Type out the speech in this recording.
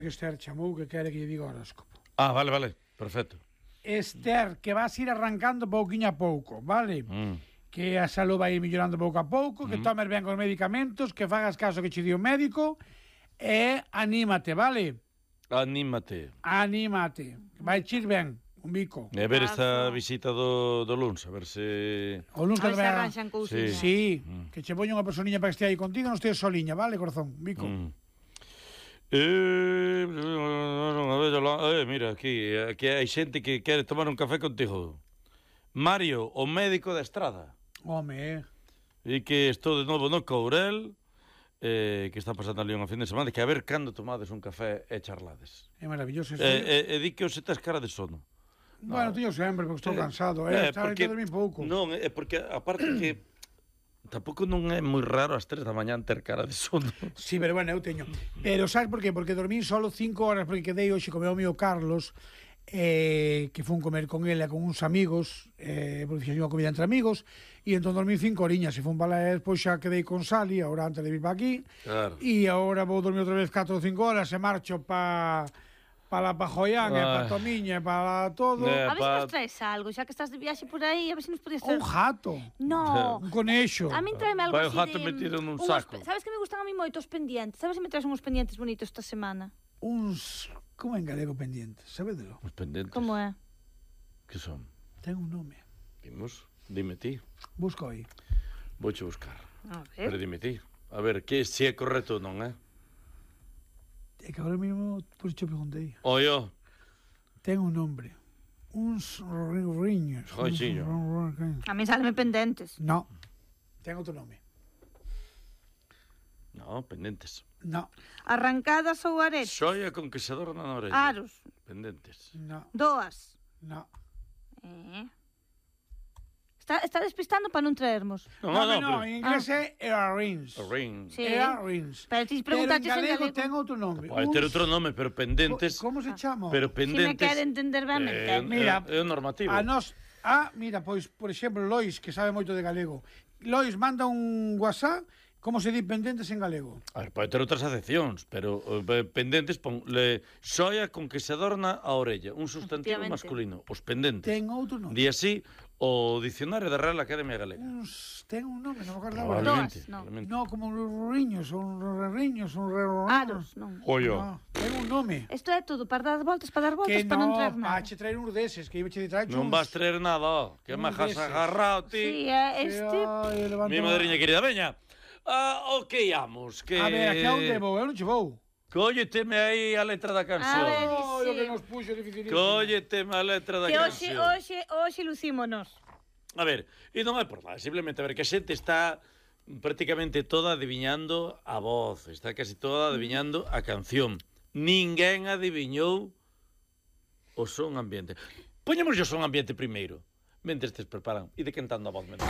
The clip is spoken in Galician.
Esther chamou que quere que lle diga o horóscopo. Ah, vale, perfecto. Esther, que vas ir arrancando pouquiño a pouco, vale? Que a salud vai ir mellorando pouco a pouco, que tomes ben os medicamentos, que fagas caso que che di o médico e anímate, vale? Anímate. Anímate. Vai ir ben, un bico. E a ver esta visita do luns, a ver se... O luns que se arranxan cousiñas. Sí, que che poña unha personiña para que estea aí contigo, non esteas soliña, vale, corazón? Un bico. Mira, aquí hai xente que quere tomar un café contigo. Mario, o médico da Estrada. Home, E que estou de novo no Courel, que está pasando ali unha fin de semana, que a ver cando tomades un café e charlades. é maravilloso. E di que hoxe tes cara de sono. Bueno, tío, sempre, porque estou cansado. Estaba que dormir pouco. Non, é porque, aparte que tampouco non é moi raro ás 3 da mañán ter cara de sono. Sí, pero bueno, eu teño. Pero sabes por qué? Porque dormí solo 5 horas, porque quedei hoxe co meu amigo Carlos, que fun comer con ele con uns amigos, porque fixen unha comida entre amigos, e entón dormí 5 horiñas, e fun para lá, despois xa quedei con Sally, agora antes de vir para aquí, Claro. e agora vou dormir outra vez 4 ou 5 horas, e marcho para la Pajoyán, e para Tomiña, e para todo. A ver se nos traes algo, xa que estás de viaxe por aí, a ver se nos podías traer... Un jato. No. Un conexo. A min tráeme algo Vai o así jato de... metido nun saco. Sabes que me gustan a mí moito os pendientes? Sabes se me traes uns pendientes bonitos esta semana? Uns... Como en galego pendientes, sabedelo? Os pendentes. Como é? Que son? Ten un nome. Vimos? Dime ti. Busco aí. Vouche buscar. A Pero ver. dime ti. A ver, que se é correcto ou non, É que agora mesmo, por isto preguntei. Oio. Ten un nombre. Uns riños. Joixiño. A mí salme pendentes. No. Ten outro nome. No, pendentes. No. Arrancadas ou aretes? Xoia con que se adorna na orella. Aros. Pendentes. No. Doas. No. Está despistando para non traermos. No, en inglés é earrings. Rings. Sí. Earrings. Pero ti Pero en preguntaches en galego galego. ten outro nome. Pode ter outro nome, pero pendentes... Como se chama? Pero Si me pendentes... quere entender ben, me entende. Mira, é o normativo. A nos... mira, pois, por exemplo, Lois, que sabe moito de galego. Lois manda un WhatsApp, como se di pendentes en galego? A ver, pode ter outras acepcións, pero pendentes ponle xoia con que se adorna a orella, un sustantivo Efectivamente. masculino, os pendentes. Ten outro nome. Di así o Dicionario da Real Academia Galega. Ten un nome, non me acordo agora. Probablemente. Doas, no. probablemente. No, como riños, un riños, un Aros, non. Oio. No, ten un nome. Isto é todo para dar voltas, para Que para non traer no, nada. che traer uns deses, que iba che traer Non vas traer nada, que uns me has deses. agarrado Sí, ti. é este. Mi madriña querida, veña. Ok, íamos, que... A ver, aquí a onde vou? Eu non che vou. Cólleteme aí a letra da canción. A ver. Oh, o que nos puxo dificilísimo. Cólleteme a letra da Que hoxe, canción. hoxe lucímonos. A ver, e non é por nada, simplemente a ver que a xente está prácticamente toda adiviñando a voz, está casi toda adiviñando a canción. Ninguén adiviñou o son ambiente. Poñemos o son ambiente primeiro, mentre estes preparan, e de cantando a voz menor.